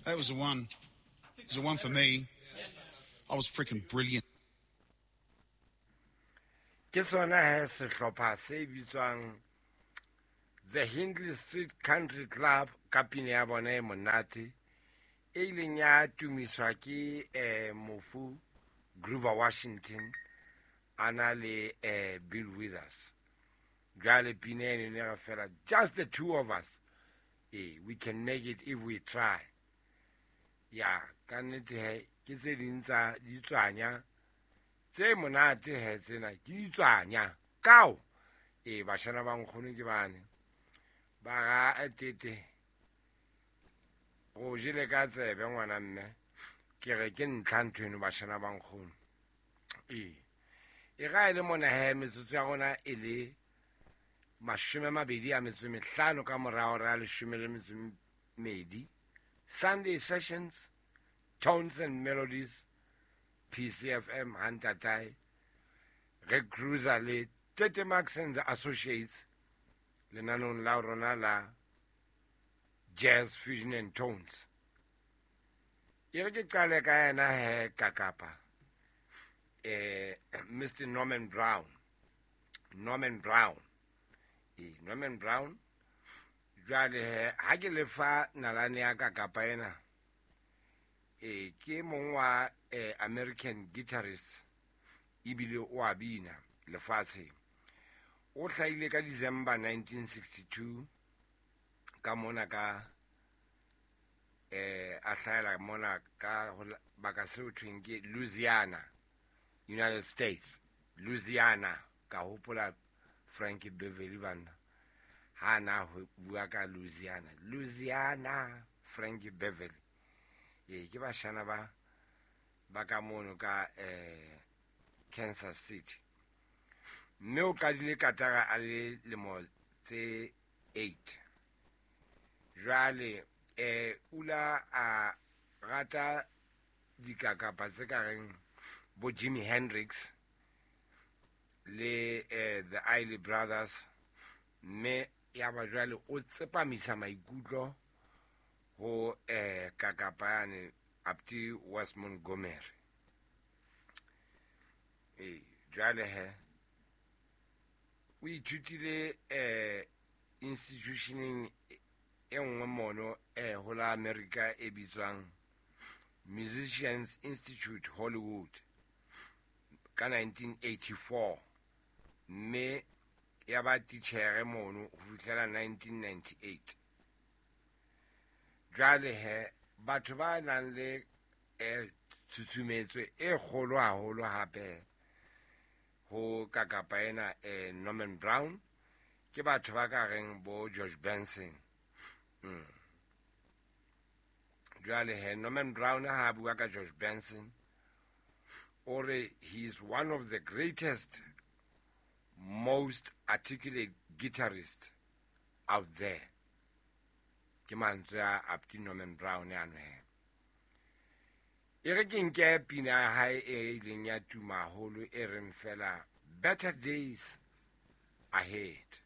That was the one. It was the one for me. I was freaking brilliant. Ke sona he sehlopha se bitswang The Hindley Street Country Club ka pina ya bona e monate e ileng ya tumiswa ke mofu Grover Washington a na le Bill Withers. Jwale pina eno ne re fela just the two of us. We can make it if we try. Ya, ka nnete he ke tse ding tsa ditswanya tse monate he tsena ke ditswanya. Kao! Bashana ba nkgono ke bane. Ba ga tete. Go jele ka tsebe ngwana mme. Ke re ke ntlha ntho eno bashana ba nkgono. E ga e le mona he metsotso ya rona e le 25 ka morao ra 12. Sunday Sessions, Tones and Melodies, PCFM Hantatai, re cruiser le Tete Max and the Associates, lenanong la rona la Jazz Fusion and Tones. E re ke qale ka yena he kakapa, Mr. Norman Brown. Norman Brown. Norman Brown. Jwale he, ha ke lefa nalane ya kakapa ena, ke mong wa American guitarist ebile o a bina lefatsheng. O hlahile ka December 1962 ka mona ka a hlahela mona ka baka seo thweng ke Louisiana, United States. Louisiana, ka hopola Frankie Beverly banna. Ha na ho bua ka Louisiana. Louisiana, Frankie Beverly. Ke bashana ba ka mono ka Kansas City. Mme o qadile katara a le lemo tse 8. Jwale ula a rata dikakapa tse ka reng bo Jimi Hendrix le the Isley Brothers, mme ya ba jwale o tsepamisa maikutlo ho kakapa yane Apti Wes Montgomery. Jwale he o ithutile institutioneng e nngwe mono ho la America e bitswang Musicians Institute Hollywood ka 1984, mme ya ba titjhere mono ho fihlela 1998. Jwale he batho ba nang le tshusumetso e kgolo haholo hape ho kakapa ena Norman Brown ke batho ba ka reng bo George Benson. Jwale he Norman Brown ha bua ka George Benson o re he is one of the greatest, most articulate guitarist out there. Ke mantswe a Apti Norman Brown ano he. E re ke nke pina ya hae e ileng ya tuma haholo e reng fela Better Days Ahead.